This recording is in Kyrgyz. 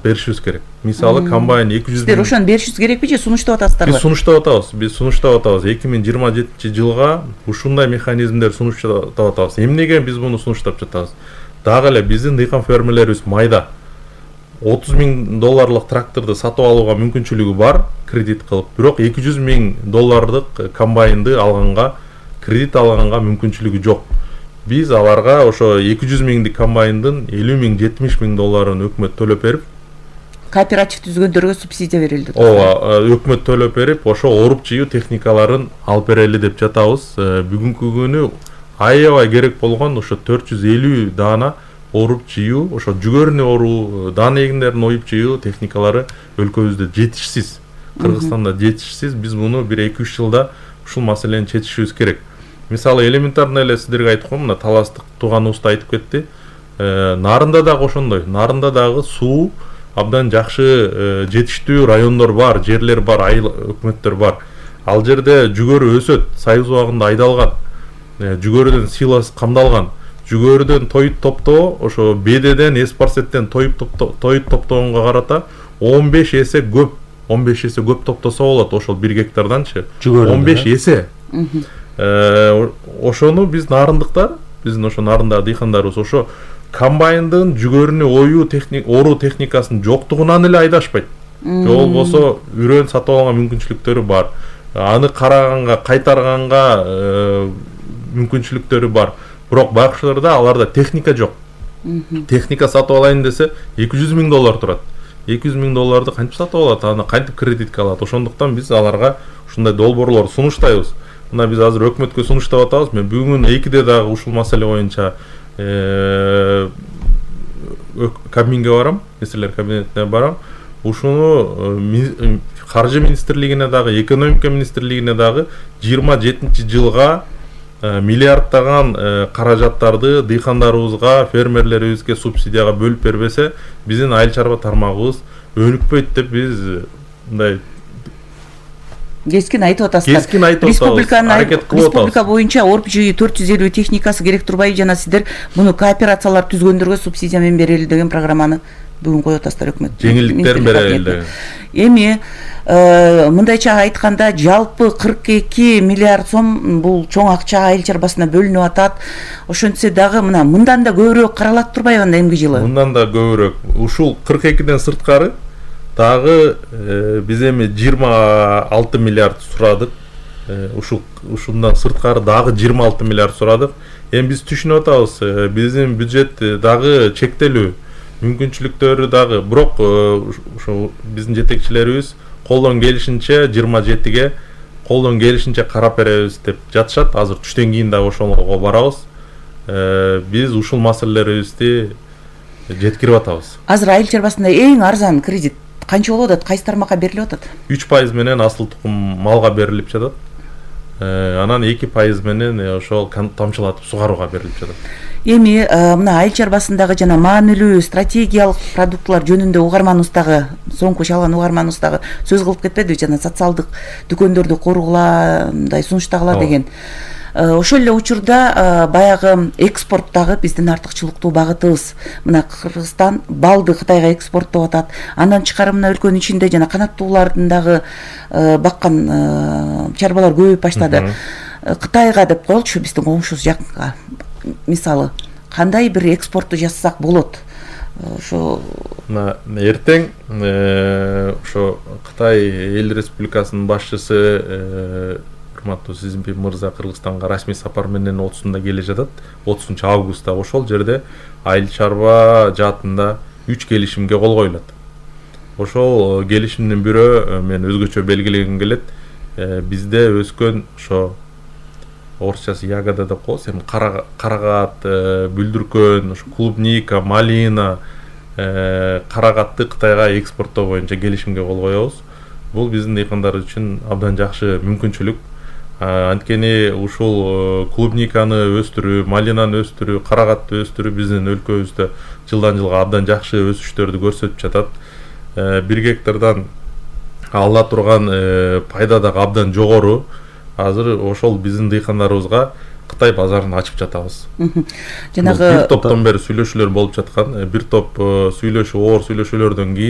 кылып беришибиз керек. Мисалы комбайн 200 Сиздер ошону беришибиз керекпи же сунуштап атасыздарбы? Биз сунуштап атабыз. 2027-жылга ушундай механизмдер сунуштап атабыз. Эмнеге биз муну сунуштап жатабыз? Дагы эле биздин дыйкан фермерлерибиз майда $30 000 тракторду сатып алууга мүмкүнчүлүгү бар кредит кылып, бирок $200 000 комбайнды алганга, кредит алганга мүмкүнчүлүгү жок. Биз аларга ошо 200 000 комбайндын $50 000-$70 000 өкмөт төлөп берип, кооператив түзгөндөргө субсидия берилди. Ооба, өкмөт төлөп берип, ошо оруп жыйуу техникаларын алып берели деп жатабыз. Бүгүнкү күнү аябай керек болгон ошо 450 даана оруп жыйуу, ошо жүгөрүнү оруу, даана эгиндерин оюп жыйуу техникалары өлкөбүздө жетишсиз. Кыргызстанда жетишсиз. Биз муну 1-2-3 жылда ушул маселени чечишибиз керек. Мисалы элементарный эле сиздерге айткым, мына Таластык тууган уста айтып кетти. Нарында дагы ошондой. Нарында дагы суу абдан жакшы жетиштүү райондор бар, жерлер бар, айыл өкмөттөр бар. Ал жерде жүгөрү өсөт, сайыз убагында айдалган. Жүгөрүдөн силос камдалган. Жүгөрүдөн тоют топтоо ошо бедеден, эспарсеттен тоют топтогонго карата 15 эсе көп. 15 эсе көп топтосо болот ошол 1 гектарданчы. 15 эсе. Ошону биз нарындыктар, биздин ошо нарындагы дыйкандарыбыз ошо комбайндын жүгөрүнү оруу техникасынын жоктугунан эле айдашпайт. Же болбосо үрөн сатып алганга мүмкүнчүлүктөрү бар. Аны караганга, кайтарганга мүмкүнчүлүктөрү бар. Бирок байкушларда аларда техника жок. Техника сатып алайын десе $200 000 турат. $200 000 кантип сатып алат? Аны кантип кредитке алат? Ошондуктан биз аларга ушундай долбоорлор сунуштайбыз. Мына биз азыр өкмөткө сунуштап атабыз. Мен бүгүн 2-де дагы ушул маселе боюнча кабинге барам, министрлер кабинетине барам. Ушуну каржы министрлигине дагы, экономика министрлигине дагы 27-жылга миллиардтаган каражаттарды дыйкандарыбызга, фермерлерибизге субсидияга бөлүп бербесе, биздин айыл чарба тармагыбыз өнүкпөйт деп биз мындай кескин айтып атасыздар. Республика боюнча оруп жыйуу 450 техникасы керек турбайбы, жана сиздер муну кооперациялар түзгөндөргө субсидия менен берели деген программаны бүгүн коюп атасыздар өкмөт. Жеңилдиктерин берели деген. Эми мындайча айтканда жалпы 42 миллиард сом бул чоң акча айыл чарбасына бөлүнүп атат. Ошентсе дагы мындан да көбүрөөк каралат турбайбы анда эмки жылы? Мындан да көбүрөөк. Ушул 42ден сырткары дагы биз эми 26 миллиард сурадык. Ушундан сырткары дагы 26 миллиард сурадык. Эми биз түшүнүп атабыз, биздин бюджет дагы чектелүү, мүмкүнчүлүктөрү дагы. Бирок ошо биздин жетекчилерибиз колдон келишинче 27ге колдон келишинче карап беребиз деп жатышат. Азыр түштөн кийин дагы ошолго барабыз. Биз ушул маселелерибизди жеткирип атабыз. Азыр айыл чарбасында эң арзан кредит канча болуп атат? Кайсы тармакка берилип атат? 3% менен асыл тукум малга берилип жатат. Анан 2% менен ошол тамчылатып сугарууга берилип жатат. Эми мына айыл чарбасындагы жана маанилүү стратегиялык продуктылар жөнүндө угарманыбыз дагы, соңку чалган угарманыбыз дагы сөз кылып кетпедиби, жана социалдык дүкөндөрдү коругула, мындай сунуштагыла деген. Ошол эле учурда баягы экспорт дагы биздин артыкчылыктуу багытыбыз. Мына Кыргызстан балды Кытайга экспорттоп атат. Андан тышкары мына өлкөнүн ичинде жана канаттуулардын дагы баккан чарбалар көбөйүп баштады. Кытайга деп коелучу, биздин коңшубуз жакынга. Мисалы, кандай бир экспортту жасасак болот? Ошо эртең ошо Кытай эл республикасынын башчысы урматтуу Си Цзиньпин мырза Кыргызстанга расмий сапар менен 30-да келе жатат. 30-августта ошол жерде айыл чарба жаатында 3 келишимге кол коюлат. Ошол келишимдин бирөө мен өзгөчө белгилегим келет. Бизде өскөн ошо орусчасы ягода деп коебуз, эми карагат, бүлдүркөн, ошо клубника, малина, карагатты Кытайга экспорттоо боюнча келишимге кол коебуз. Бул биздин дыйкандар үчүн абдан жакшы мүмкүнчүлүк. Анткени ушул клубниканы өстүрүү, малинаны өстүрүү, карагатты өстүрүү биздин өлкөбүздө жылдан жылга абдан жакшы өсүштөрдү көрсөтүп жатат. 1 гектардан ала турган пайда дагы абдан жогору. Азыр ошол биздин дыйкандарыбызга Кытай базарын ачып жатабыз. Жанагы бир топтон бери сүйлөшүүлөр болуп жаткан. Бир топ оор сүйлөшүүлөрдөн кийин